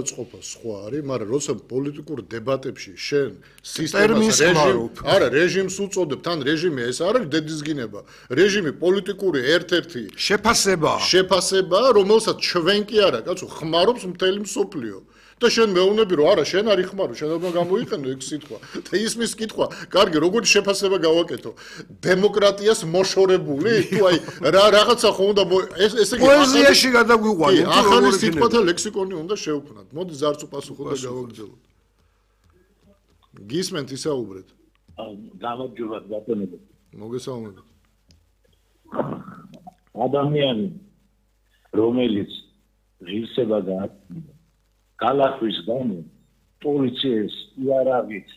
წყობა სხვა არის, მაგრამ როცა პოლიტიკურ დებატებში შენ სისტემას რეჟიმს უწოდებ, თან რეჟიმი ეს არ არის დედისგინება. რეჟიმი პოლიტიკური ერთ-ერთი შეფასება, რომელსაც ჩვენ კი არა, კაცო, ხმარობს მთელი მსოფლიო. და შენ მეუბნები რომ არა, შენ არ იხმარო, შენ უნდა გამოიყენო ეგ სიტყვა. და ისმის კითხვა, კარგი, როგორი შეფასება გავაკეთო? დემოკრატიას მოშორებული? თუ აი რაღაცა ხო უნდა ესე იგი პოეზიაში გადაგვიყვანოთ, ახალი სიტყვათა ლექსიკონი უნდა შევქმნათ. მოდი ზარწუ პასუხო და გავაგრძელოთ. გისმენთ ისაუბრეთ. გამარჯობა ბატონო. მოგესალმებით. ადამიანი რომელიც ღირსება გააჩნია გალახვის გამო პოლიციის იარაღით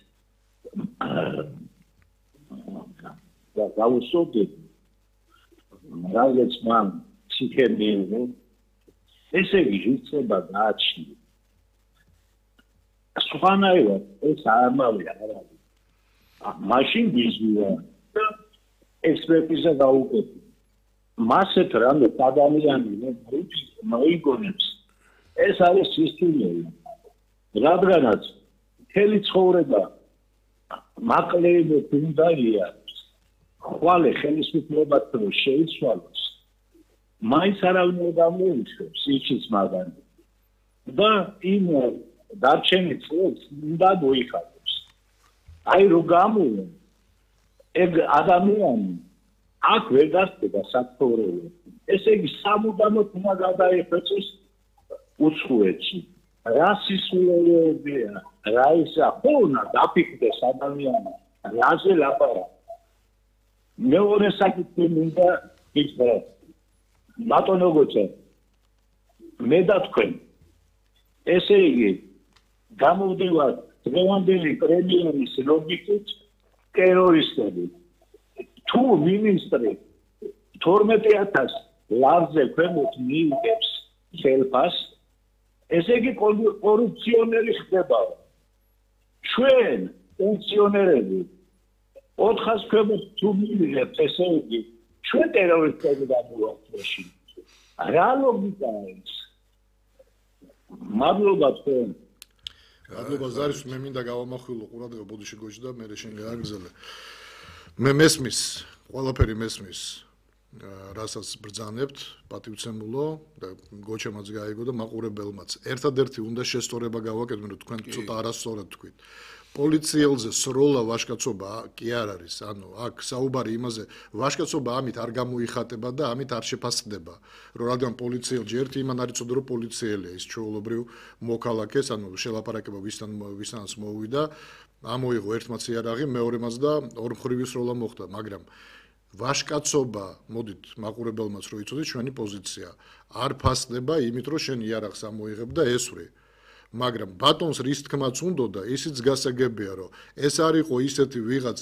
და გაუსწორდეთ რაღაც მან ციხემდიენო ესე იგი ღირსება გააჩნია სხვანაირად ეს ამავე არ არის მაშინ ვიზუა ექსპერტიზა გაუკეთე მასეთ რამე ადამიანი მოიგონებს ეს არის სისტემური რადგანაც მთელი ცხოვრება მაკლეიბებს უნდა იაროს ხვალე ხელისუფლებად რომ შეიცვალოს მაინც არავინ არ გამოუშვებს ისიც მაგარი და იმ დარჩენილ წლებს უნდა მოიხადოს აი რო გამოვა ეგ ადამიანი აქ ვერ გასწრება საცხოვრებლად ესე იგი სამუდამოდ უნდა გადაიხეწოს უცხოეთში რა სისულელეებია რა ისა ხონა დაფიქრდეს ადამიანი რაზე ლაპარაკ მეორე საკითხი მინდა იცხრა ბატონო გოჩა მე და თქვენ ესე იგი გამოვდივართ დღევანდელი პრემიერის ლოგიკით ტერორისტები თუ მინისტრი 12000 ლარზე ქვემოთ მიიღებს ხელფას ესე იგი კორუფციონერი ხდება ჩვენ პენსიონერები 400 ქვემოთ თუ მიიღებთ ესე იგი ჩვენ ტერორისტები გამოვაქვეში რა ლოგიკაა ეს მადლობა თქვენ მადლობა ზარის მე მინდა გავამახვილო ყურადღება ბოდიში გოჩი და მე შენ გააგზავნე მე მესმის ყველაფერი მესმის რასაც ბრძანებთ პატივცემულო და გოჩემაც გაიგო და მაყურებელმაც ერთადერთი უნდა შესწორება გავაკეთოთ რომ თქვენ ცოტა არასწორად თქვით პოლიციელზე სროლა ვაჟკაცობა კი არ არის ანუ აქ საუბარი იმაზე ვაჟკაცობა ამით არ გამოიხატება და ამით არ შეფასდება რომ რადგან პოლიციელჯი ერთი იმან არ იცოდა რომ პოლიციელია ის ჩვეულებრივ მოქალაქეს ანუ შელაპარაკება ვისთანაც მოუვიდა ამოიღო ერთმაც იარაღი მეორემაც და ორმხრივი სროლა მოხდა მაგრამ ვაჟკაცობა მოდით მაყურებელმაც რო იცოდეთ ჩვენი პოზიცია არ ფასდება იმით რომ შენ იარაღს ამოიღებ და ესვრე მაგრამ ბატონს რის თქმაც უნდოდა ისიც გასაგებია რომ ეს არისო ისეთი ვიღაც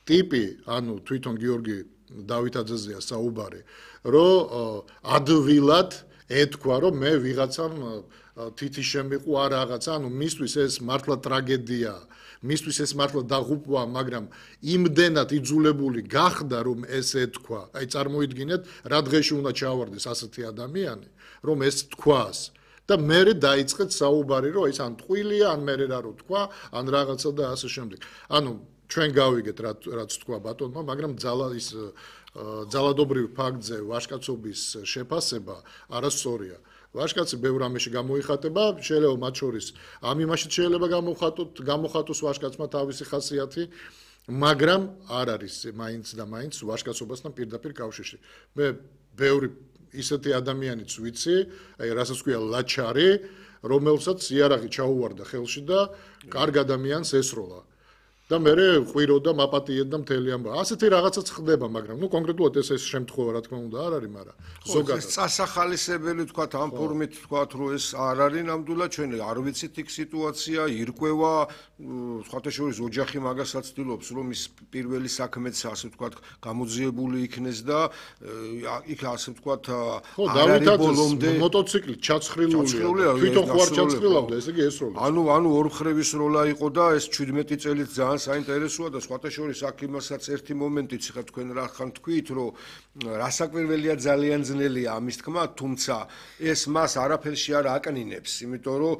ტიპი ანუ თვითონ გიორგი დავითაძეზეა საუბარი რომ ადვილად ეთქვა რომ მე ვიღაცამ თითი შემიყვა რაღაცა ანუ მისთვის ეს მართლა ტრაგედია მისთვის ეს მართლა დაღუპვა მაგრამ იმდენად იძულებული გახდა რომ ეს ეთქვა აი წარმოიდგინეთ რა დღეში უნდა ჩავარდეს ასეთი ადამიანი რომ ეს თქვას და მერე დაიწყეთ საუბარი რომ ეს ან ტყუილია ან მერე რა რო თქვა ან რაღაცა და ასე შემდეგ ანუ ჩვენ გავიგეთ რაც თქვა ბატონმა მაგრამ ძალადობრივ ფაქტზე ვაჟკაცობის შეფასება არასწორია ვაჟკაცი ბევრ ამაში გამოიხატება შეიძლება მათ შორის ამ იმაშიც შეიძლება გამოხატოს ვაჟკაცმა თავისი ხასიათი მაგრამ არ არის მაინც და მაინც ვაჟკაცობასთან პირდაპირ კავშირში მე ბევრი ისეთი ადამიანიც ვიცი აი რასაც ქვია ლაჩარი რომელსაც იარაღი ჩაუვარდა ხელში და კარგ ადამიანს ესროლა და მე ყვიროდა მაპატიებდა მთელი ამბავი. ასეთი რაღაცაც ხდება, მაგრამ ნუ კონკრეტულად ეს შემთხვევა რა თქმა უნდა არ არის, მაგრამ ზოგადად წასახალისებელი თქვა ამ ფორმით თქვა რომ ეს არ არის ნამდვილად ჩვენ არ ვიცით იქ სიტუაცია, ირკვევა, სხვათა შორის ოჯახი მაგასაც ცდილობს რომ ის პირველი საქმეც ასე თქვა გამოძიებული იქნეს და იქ ასე თქვა არ არის ბოლომდე მოტოციკლით ჩაცხრილულია, თვითონ ხوار ჩაცხრილავდა, ესე იგი ესროლა. ანუ ორ მხრივი სროლა იყო და ეს 17 წელიც ძალიან საინტერესოა და სხვათა შორის აქ იმასაც ერთი მომენტიც ხა თქვენ რა ხან თქვით, რომ რასაკვირველია ძალიან ძნელია ამის თქმა, თუმცა ეს მას არაფერში არ აკნინებს, იმიტომ რომ